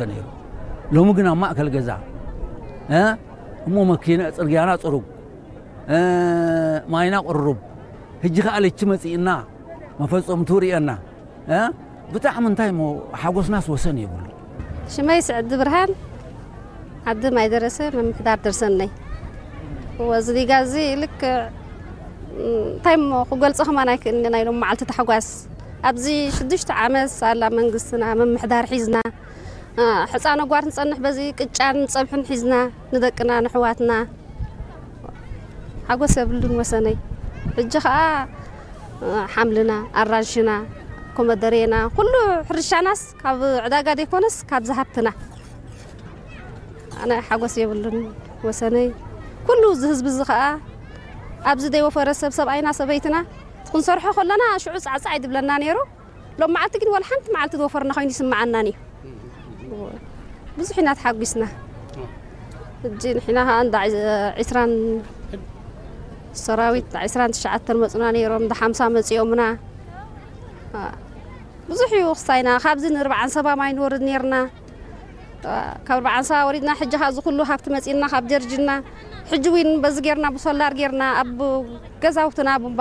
ተነይሩ። ሎሚ ግን ኣብ ማእከል ገዛ፣ እ? እሞ መኪና፣ ጽርግያና ጽሩግ፣ እ፣ ማይና ቅሩብ። ሕጂ ከኣ ለቺ መጺእና፣ መፈጸምቱ ርእየና፣ እ? ብጣዕሚ እንታይ እሞ ሓጎስናስ ወሰን የብሉ። ሽመይ ስዕዲ ብርሃን፣ ዓዲ ማይ ደረሰ፣ ምምሕዳር ደርሰነይ። እወ፣ እዚ ዲጋ እዚ ልክዕ፣ እንታይ እሞ ክገልጾ ከማን ኣይክእልን፣ ናይ ሎም መዓልቲ ታሕጓስ። ኣብዚ ሽዱሽተ ዓመት ሳላ መንግስትና ምምሕዳር ሒዝና፣ እ፣ ሕፃን ኣጓር ንጸንሕ በዚ ቅጫን ጸብሕን ሒዝና ንደቅና ንሕዋትና ሓጎስ የብሉን ወሰነይ። ሕጂ ኸኣ፣ እ፣ ሓምልና፣ ኣራንሽና፣ ኮመደሬና፣ ኩሉ ሕርሻናስ ካብ ዕዳጋ ዘይኮነስ ካብ ዝሃብትና። ኣነ ሓጎስ የብሉን ወሰነይ። ኩሉ እዚ ህዝቢ እዚ ኸኣ ኣብዚ ዘይወፈረ ሰብ፣ ሰብኣይና ሰበይትና ክንሰርሖ ከለና ሽዑ ጻዕጻዕ ይድብለና ነይሩ። ሎም መዓልቲ ግን ወላ ሓንቲ መዓልቲ ዝወፈርና ኮይኑ ይስምዓናን እዩ። ብዙሕ ኢና ተሓጒስና። ሕጂ ንሕና ኸኣ እንዳ ዒስ-፣ ዒስራን ሰራዊት እንዳ ዒስራን ትሽዓተን መጹና ነይሮም፣ እንዳ ሓምሳ መጺኦምና። ብዙሕ እዩ ክሳይና። ካብዚ ንርብዓን ሰባ ማይ ንወርድ ነይርና። ካብ ኣርባዓን ሰባ ወሪድና፣ ሕጂ ኸኣ እዚ ኩሉ ሃብቲ መጺእና ካብ ጀርጅና። ሕጂ እውን በዚ ጌርና፣ ብሶላር ጌርና፣ ኣብ ገዛውትና ቡምባ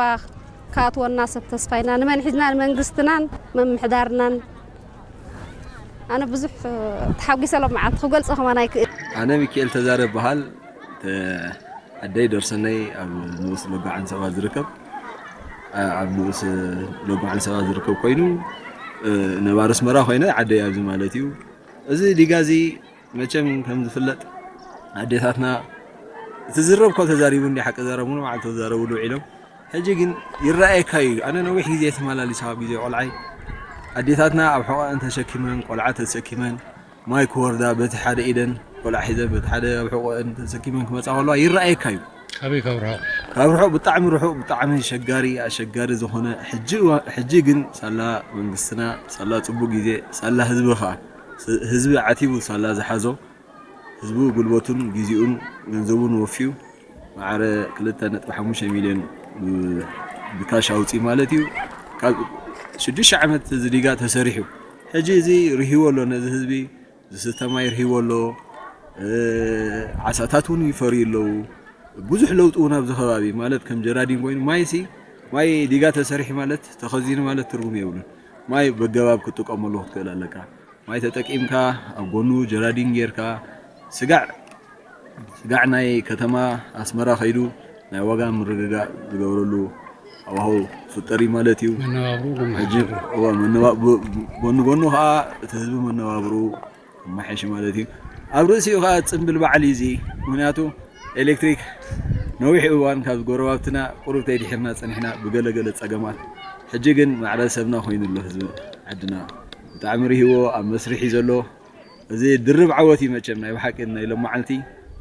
ክኣትወና ሰብ ተስፋ ኢና። ንመን ሒዝና? ንመንግስትናን ምምሕዳርናን። ኣነ ብዙሕ ተሓጒሰ ሎም መዓልቲ ክገልጾ ከማን ኣይክእል። ኣነ ሚካኤል ተዛረ እበሃል። ተ-፣ ዓደይ ደርሰነይ ኣብ ንኡስ ሎጎ ዓንሰባ ዝርከብ፣ ኣ-፣ ኣብ ንኡስ ሎጎ ዓንሰባ ዝርከብ ኮይኑ፣ እ፣ ነባሪ ኣስመራ ኮይነ ዓደይ ኣብዚ ማለት እዩ። እዚ ዲጋ እዚ መቸም ከም ዝፍለጥ ኣዴታትና እቲ ዝረብ ካብ ተዛሪቡ እንዲ ሓቂ ዘረቡን መዓልቲ ተዛረቡሉ ውዒሎም። ሕጂ ግን ይረኣየካ እዩ። ኣነ ነዊሕ ግዜ ተመላሊሰ ካብ ግዜ ቆልዓይ ኣዴታትና ኣብ ሕቖአን ተሰኪመን፣ ቆልዓ ተሰኪመን፣ ማይ ክወርዳ በቲ ሓደ ኢደን ቆልዓ ሒዘን በቲ ሓደ ኣብ ሕቖአን ተሰኪመን ክመጻ ከለዋ ይረኣየካ እዩ። ኣበይ ካብ ርሑቕ? ካብ ርሑቕ፣ ብጣዕሚ ርሑቕ፣ ብጣዕሚ ሸጋሪ፣ ኣሸጋሪ ዝኾነ ሕጂ እዋ-፣ ሕጂ ግን ሳላ መንግስትና፣ ሳላ ጽቡቕ ግዜ፣ ሳላ ህዝቢ ኸኣ፣ ስ-፣ ህዝቢ ዓቲቡ ሳላ ዝሓዞ፣ ህዝቢ ጉልበቱን ግዜኡን ገንዘቡን ወፊዩ ማዕረ ክልተ ነጥቢ ሓሙሽተ ሚልዮን ብ-፣ ብካሽ ኣውጺኡ ማለት እዩ። ካብ ሽዱሽተ ዓመት እዚ ዲጋ ተሰሪሑ። ሕጂ እዚ ርሂዎ ኣሎ ነዚ ህዝቢ፣ ዝስተ ማይ ርሂዎ ኣሎ። እ፣ ዓሳታት እውን ይፈርዩ ኣለዉ። ብዙሕ ለውጢ እውን ኣብዚ ከባቢ ማለት ከም ጀራዲን ኮይኑ ማይሲ፣ ማይ ዲጋ ተሰሪሑ ማለት ተኸዚኑ ማለት ትርጉም የብሉን። ማይ በገባብ ክትጥቀመሉ ክትክእል ኣለካ። ማይ ተጠቂምካ ኣብ ጎኑ ጀራዲን ጌርካ ስጋዕ፣ ስጋዕ ናይ ከተማ ኣስመራ ከይዱ ናይ ዋጋ ምርግጋእ ዝገብረሉ ሃዋህው ዝፍጠር እዩ ማለት እዩ። መነባብሮ ሕጂ፣ እዋ፣ መነባ-፣ ብ-፣ ጎኒ ጎኑ ከዓ እቲ ህዝቢ መነባብሮ ይመሓየሽ ማለት እዩ። ኣብ ርእሲኡ ከዓ ፅምብል በዓል እዩ እዚ። ምክንያቱ ኤሌክትሪክ ነዊሕ እዋን ካብ ጎረባብትና ቁሩብ ተይድሒርና ፀኒሕና ብገለገለ ፀገማት። ሕጂ ግን ማዕረ ሰብና ኮይኑ ኣሎ ህዝቢ ዓድና። ብጣዕሚ ርሂዎ ኣብ መስርሕ እዩ ዘሎ። እዚ ድርብ ዓወት እዩ መቸም ናይ ብሓቂ ናይ ሎም መዓልቲ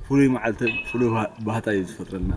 ፍሉይ መዓልቲ ፍሉይ ባህ-፣ ባህታ እዩ ዝፈጥረልና።